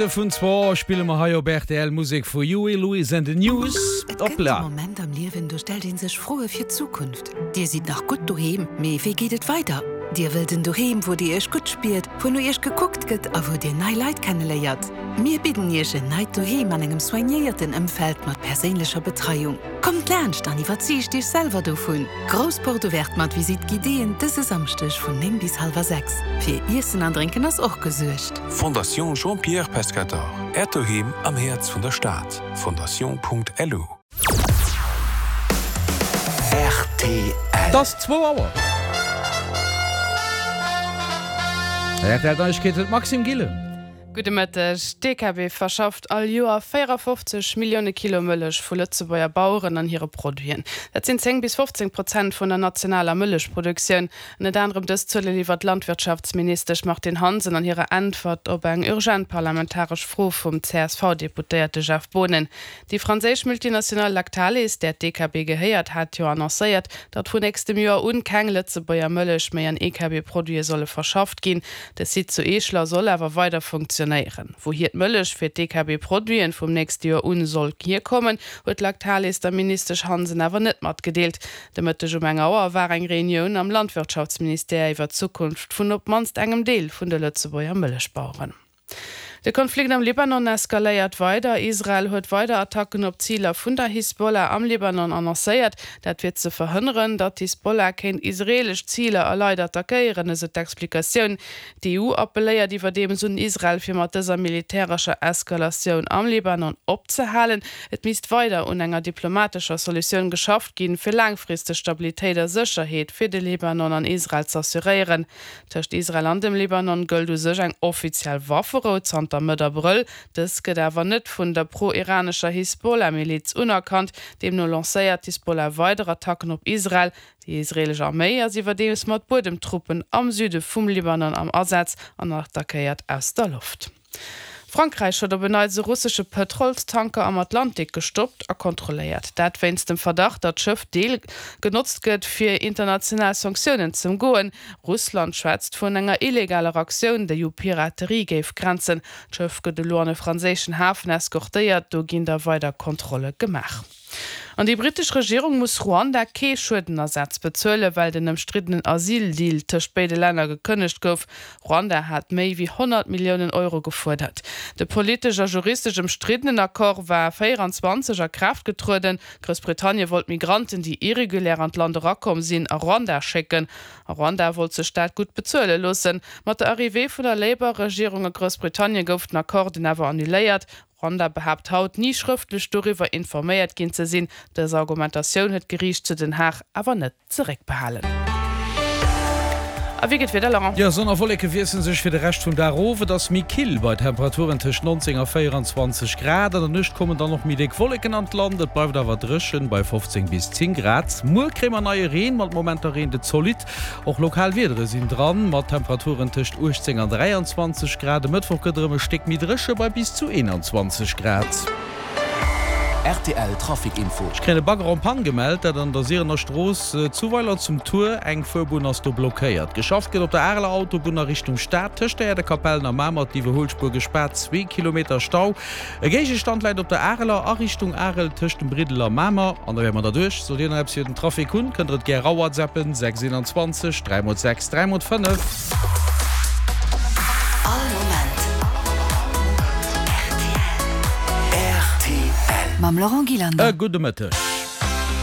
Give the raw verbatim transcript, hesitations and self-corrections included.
Vun zwou spille mer hei op rtl Musek vu Huey Lewis and the News. Et kënnt e Hoppla! Moment am Liewen, do stellt ee sech Froe fir d'Zukunft. Dir sidd nach gutt doheem, mee wéi geet et weider? Dir wëllt en Doheem, wou Dir Iech gutt spiert, wou no Iech gekuckt gëtt a wou Dir nei Leit kenneléiert. Mir bidden Iech en neit Doheem an engem soignéierten Ëmfeld mat perséinlecher Betreiung. Kommt laanscht an iwwerzeegt Iech selwer dovun! Grouss Porte ouverte mat Visite guidéeën dëse Samschdeg vun néng bis hallwer sechs. Fir Iessen an Drénken ass och gesuergt. Fondation Jean-Pierre Pescatore, Äert Doheem am Häerz vun der Stad. Fondation.lu. Rtl. Et ass zwou Auer. Rtl Neiegkeeten, d'Maxime Gillen. Gudde Mëtteg. D'DKB verschafft all Joer véierafofzeg Millioune Kilo Mëllech vu Lëtzebuerger Baueren an hire Produiten. Dat sinn zéng bis fofzéng Prozent vun der nationaler Mëllechproduktioun. Ënnert anerem dës Zuele liwwert d'Landwirtschaftsministesch Martine Hansen an hirer Äntwert op eng urgent parlamentaresch Fro vum C S V-Deputéierte Jeff Boonen. Déi franséisch Multinationale Lactalis, där d'E K B gehéiert, hat jo annoncéiert, datt vun nächstem Joer un keng Lëtzebuerger Mëllech méi an E K B-Produite solle verschafft ginn. De Site zu Eeschler soll awer weider funktionéieren. Wouhier d'Mëllech fir d'E K B-Produiten vum nächste Joer un soll hierkommen, huet Lactalis der Ministesch Hansen awer net matgedeelt. De Mëtteg um eng Auer war eng Reunioun am Landwirtschaftsministère iwwer d'Zukunft vun op d'mannst engem Deel vun de Lëtzebuerger Mëllechbaueren. De Konflikt am Libanon eskaléiert weider. Israel huet weider Attacken op Ziler vun der Hisbollah am Libanon annoncéiert. Dat fir ze verhënneren, datt d'Hisbollah kéint israeelesch Ziler a Leit attackéieren, esou d'Explikatioun. D'E U appelléiert iwwerdeems un Israel, fir mat dëser militärescher Eskalatioun am Libanon opzehalen. Et misst weider un enger diplomatescher Solutioun geschafft ginn, fir laangfristeg Stabilitéit a Sécherheet fir de Libanon an Israel z'assuréieren. Tëscht Israel an dem Libanon gëllt u sech eng offiziell Wafferou zanter Mëtt Abrëll. Dës gëtt awer net vun der pro-iranescher Hisbollah-Miliz unerkannt. Deemno lancéiert d'Hisbollah weider Attacken op Israel. Déi israeelesch Arméi ass iwwerdeems mat Buedemtruppen am Süde vum Libanon am Asaz an attackéiert aus der Loft. Frankräich huet op en Neits e russesche Pëtrolstanker am Atlantik gestoppt a kontrolléiert. Dat wéinst dem Verdacht, datt d'Schëff Deel genotzt gëtt, fir international Sanktiounen z'ëmgoen. Russland schwätzt vun enger illegaler Aktioun, déi u Piraterie géif grenzen. D'Schëff gëtt elo an e franséischen Hafen eskortéiert, do ginn da weider Kontrolle gemaach. An déi brittesch Regierung muss Ruanda kee Schuedenersatz bezuelen, well den ëmstriddenen Asyl-Deal tëscht béide Länner gekënnegt gouf. Ruanda hat méi wéi honnert Milliounen Euro gefuerdert. De politesch a juristesch ëmstriddenen Accord war véieranzwanzeg a Kraaft getrueden. Groussbritannie wollt Migranten, déi irregulär an d'Land erakomm sinn, a Ruanda schécken. A Ruanda wollt sech dat gutt bezuele loossen. Mat der Arrivée vun der Labour-Regierung a Groussbritannie gouf den Accord dunn awer annuléiert. Ruanda behaapt haut, ni schrëftlech doriwwer informéiert ginn ze sinn. Dës Argumentatioun huet d'Geriicht zu Den Haag awer net zeréckbehalen. A wéi geet d'Wieder, Laurent? Jo, Sonn a Wolleke wiessele sech fir de Rescht vum Dag of. Et ass méi kill bei Temperaturen tëscht nonzéng a véieranzwanzeg Grad. An der Nuecht kommen dann och méi déck Wolleken an d'Land. Et bleift awer dréchen bei fofzéng bis zéng Grad. Muer kréie mer neie Reen, mat Momenter reent et zolidd. Och lokal Wiedere sinn dran, mat Temperaturen tëscht uechtzéng an dräianzwanzeg Grad. E Mëttwoch gëtt erëm e Stéck méi dréche bei bis zu eenanzwanzeg Grad. R T L Trafic Info. Ech kréien e Bagger en panne gemellt, dat an der Sierener Strooss zu Weiler zum Tuer. Eng Fuerbunn ass do blockéiert. Geschafft gëtt op der Areler Autobunn a Richtung Stad, tëscht der Äerdekapellen a Mamer, d'Iwwerhuelspuer gespaart, zwee Kilometer Stau. E Géigestand läit op der Areler a Richtung Arel tëscht dem Briddel a Mamer. An da wäre mer derduerch. Sollt Dir nach eppes iwwer den Trafic hunn, kënnt der et gär rawhatsappen, sechs eenanzwanzeg dräi mol sechs dräi mol fënnef. All Moment R T L. Mam Laurent E Gillander. Gudde Mëtteg.